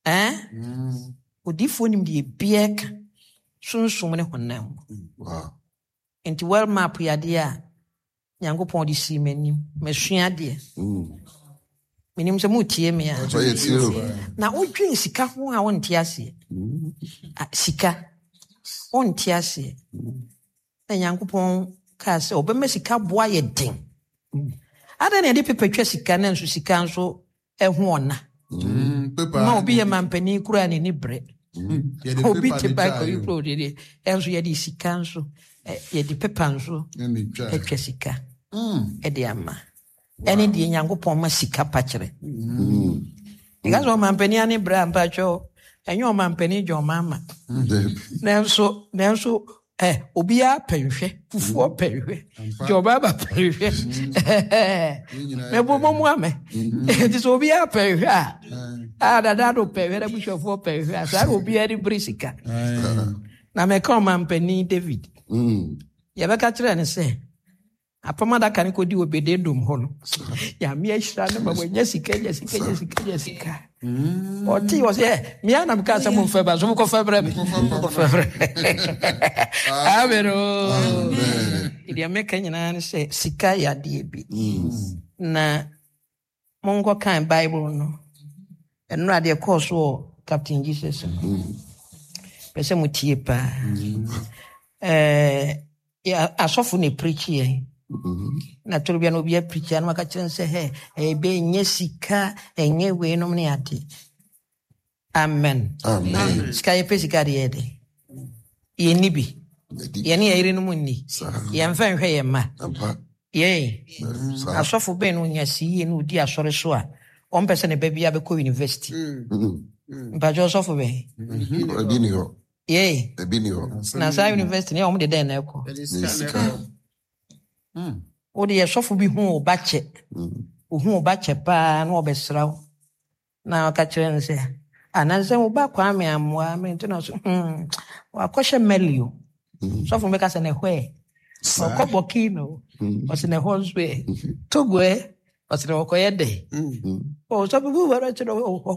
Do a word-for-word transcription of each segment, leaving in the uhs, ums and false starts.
Eh? Odiyifoɔ nim deɛ ebiara ka sunsum ne honam mu. Wow. Nti world map yɛ adeɛ a Nyankopɔn de sii m'anim. Masua adeɛ. Mm. Menim sɛ motie me a. Ɔsɔ yɛ tie o. Na wodwen sika ho a wonte aseɛ. Ah, sika. Wonte aseɛ. Na Nyankopɔn kaa sɛ ɔbɛma sika boa yɛ den. Adɛn na yɛde pepa twa sika na nso sika nso ɛho ɔna? Mm, paper. Ma obi yɛ mampanin koraa n'ani brɛ. Yɛde Obi paper te ne bike twa oyi ayo. kuro de ɛnso yɛde sika nso ɛ, yɛde pepa nso Ɛne twa. atwa sika Mm. ɛde ama. Ɛne deɛ Nyankopɔn ma sika pa kyerɛ. Nka sɛ ɔmampanin ane brɛ a mpakyɛw ɛnyɛ ɔmampanin gye ɔma Dabi. Nanso nanso ɛ obiara pɛ nhwɛ, fufuo pɛ nhwɛ, Ampa. gye ɔbaaba pɛ nhwɛ. Yɛn nyinaa Mɛbɔ yɛ mɔ mu amɛ. Nti sɛ obiara pɛ nhwɛ a, Aye. a dada do pɛ nhwɛ na abusuafoɔ pɛ nhwɛ a, saa na obiara de bere sika. Aye. Na mɛka ɔmampanin David. Mm. Yɛbɛka kyerɛ no sɛ apam adaka no kɔdi Obededom hɔ no, Nyame ahyira no ma wanya sika, nya sika, nya sika, nya sika. Ɔte wɔ sɛ ɛ mea na meka sɛ momfɛ ba so mokɔfɛ brɛ me, mokɔfɛ brɛ. Amen o. Deɛ meka nyinaa ne sɛ sika yɛ adeɛ bi na monkɔ kan Bible no. Ɛno adeɛ kɔɔ so wɔ Captain Jesus no pɛ sɛ motie paa. Ɛɛ, yɛ- asɔfo na ɛpreach yɛn na toro bia na obi apreach a na waka kyerɛ no sɛ hɛ ɛbɛ ɛnyɛ sika, ɛnyɛ weinom ne ade. Amen. Amen. Sika, yɛpɛ sika de yɛ de yɛnni bi. Yɛdi. Yɛne yɛ yerenom nni. Saa. Yɛmfa nhwɛ yɛn mma. Ampa. Yɛn Saa. asɔfo bɛn no onya si yie na odi asɔre so a ɔmpɛ sɛ ne ba bi abɛkɔ university? Mm. Mpakyɛ, ɔsɔfo bɛn? Ebi ni hɔ. Yɛn Ebi ni hɔ. Na saa university ne ɔmo de dɛn na ɛkɔ? Ne sika. Wode yɛ sɔfo bi hu wo ba kyɛ, Mm. ohu wo ba kyɛ paa na ɔbɛsra wo na ɔka kyerɛ no sɛ anansɛ wo ba Kwame amoa me nti na ɔso hmm wakɔhyɛ Mali o. Mm. Sɔfo no bɛka sɛ ne hɔ ɛ Saa. ɔkɔ Burkina o. Mm. Ɔsɛ ne hɔ nso ɛ Togo ɛ, ɔsɛ ne ɔkɔyɛ dɛ. Mm. Ɔ sɔfo bi wɔ kyerɛ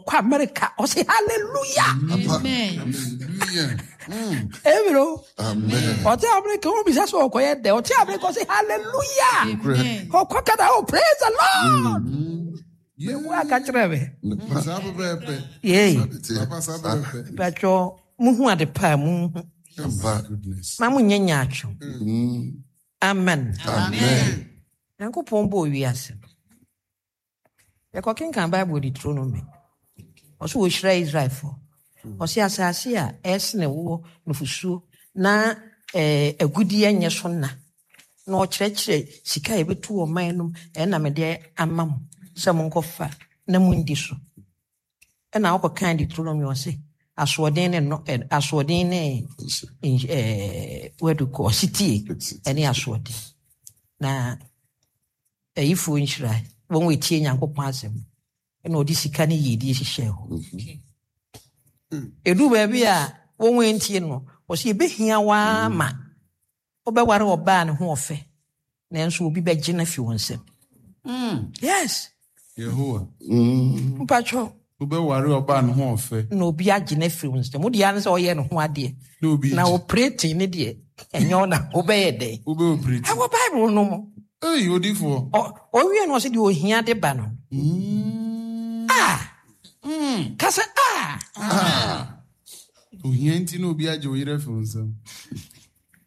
ɔkɔ America, ɔsɛ hallelujah. Ampa. Hallelujah. Mm. Amen o. Amen. Ɔte America, wɔn bisa sɛ ɔkɔyɛ dɛ, ɔte America, ɔsɛ hallelujah. Nokorɛ. Ɔkɔ Canada, oh, praise the Lord. Yeah. Wo aka kyerɛ me. Nipa. Saa pɛpɛɛpɛ. Yei. Saa Papa, saa pɛpɛɛpɛ. Mpatwɔ, muhu ade pa a muhu. Ampa. Goodness. Ma monyɛ nyaatwom. Mm. Amen. Amen. Nyankopɔn bɔɔ wiase no, yɛkɔkenkan Bible Deuteronomy, ɔso wɔhyira Israelfoɔ, ɔse asase a ɛsene woɔ nufusuo na eh, agudeɛ nyɛ so na na ɔkyerɛkyerɛ sika a yɛbɛtu wɔ man no mu, ɛna mede ama mo sɛ monkɔfa na mundi so. Ɛna wokɔkan Deuteronomy, ɔse asoɔden ne no ɛ, asoɔden ne nhy- ɛɛ wadu kɔ ɔsetie ɛne asoɔden na ayifoɔ nhyira wɔn a wɔtie Nyankopɔn asɛm. Ɛna ɔde sika ne yiedie hyehyɛ hɔ. Ɛdu baabi a wɔn a ntie no, ɔsɛ yɛbɛhia waa ma wobɛware ɔbaa ne ho ɔfɛ, nanso obi bɛgye no afi wɔn nsam. Yes. Yehowa. Mm. Mpatwɔ. Wobɛware ɔbaa ne ho ɔfɛ. Na obi agye no afiri wɔn nsam. Wode ara ne sɛ ɔyɛ ne ho adeɛ. Na obi na gye. operate ne deɛ ɛnyɛ wo na wobɛyɛ dɛn? Wobɛ operate. Ɛwɔ Bible no mu. Ei, odifoɔ. Ɔ- ɔwie no, ɔsɛ deɛ ohia de ba no. Mm. Ah, ka sɛ ah. Ah. Ohia nti na obi agye wo yere afi wo nsam.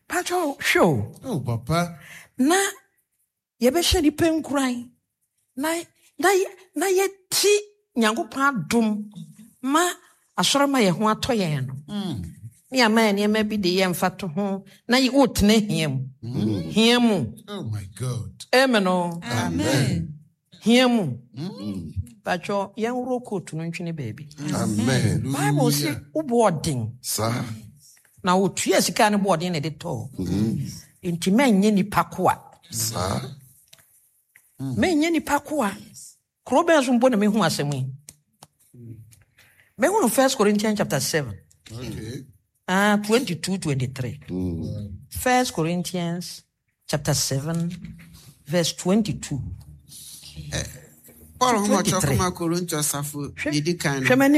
Patwɔ, hwɛ o. Oh, papa. Na yɛbɛhyɛ nipa nkuran na na yɛ- na yɛti Nyankopɔn adom ma asɔre ma yɛn ho atɔ yɛn no ne yɛama yɛ nneɛma bi de yɛmfa to ho na yɛ- wotena hia mu, hia mu. Oh my God. Amen o. Amen. Hia mu. Patwɔ, yɛnworɔ kootu no ntwene baabi. Amen. Bible sɛ wobɔ ɔden Saa. na wotua sika no bɔ ɔden na ɛde tɔɔ, nti mɛnyɛ nipa koa. Saa. Mɛnyɛ nipa koa. Kuro bɛn so mpo na mehu asɛm yi? Mehu no First Corinthians chapter seven. Okay. Ah, twenty-two, twenty-three. First Corinthians chapter seven verse twenty-two. Paul nhoma ɔtwerɛ twenty-three. kɔma Korinto asafo deɛ di kan Hwɛ no m'anim.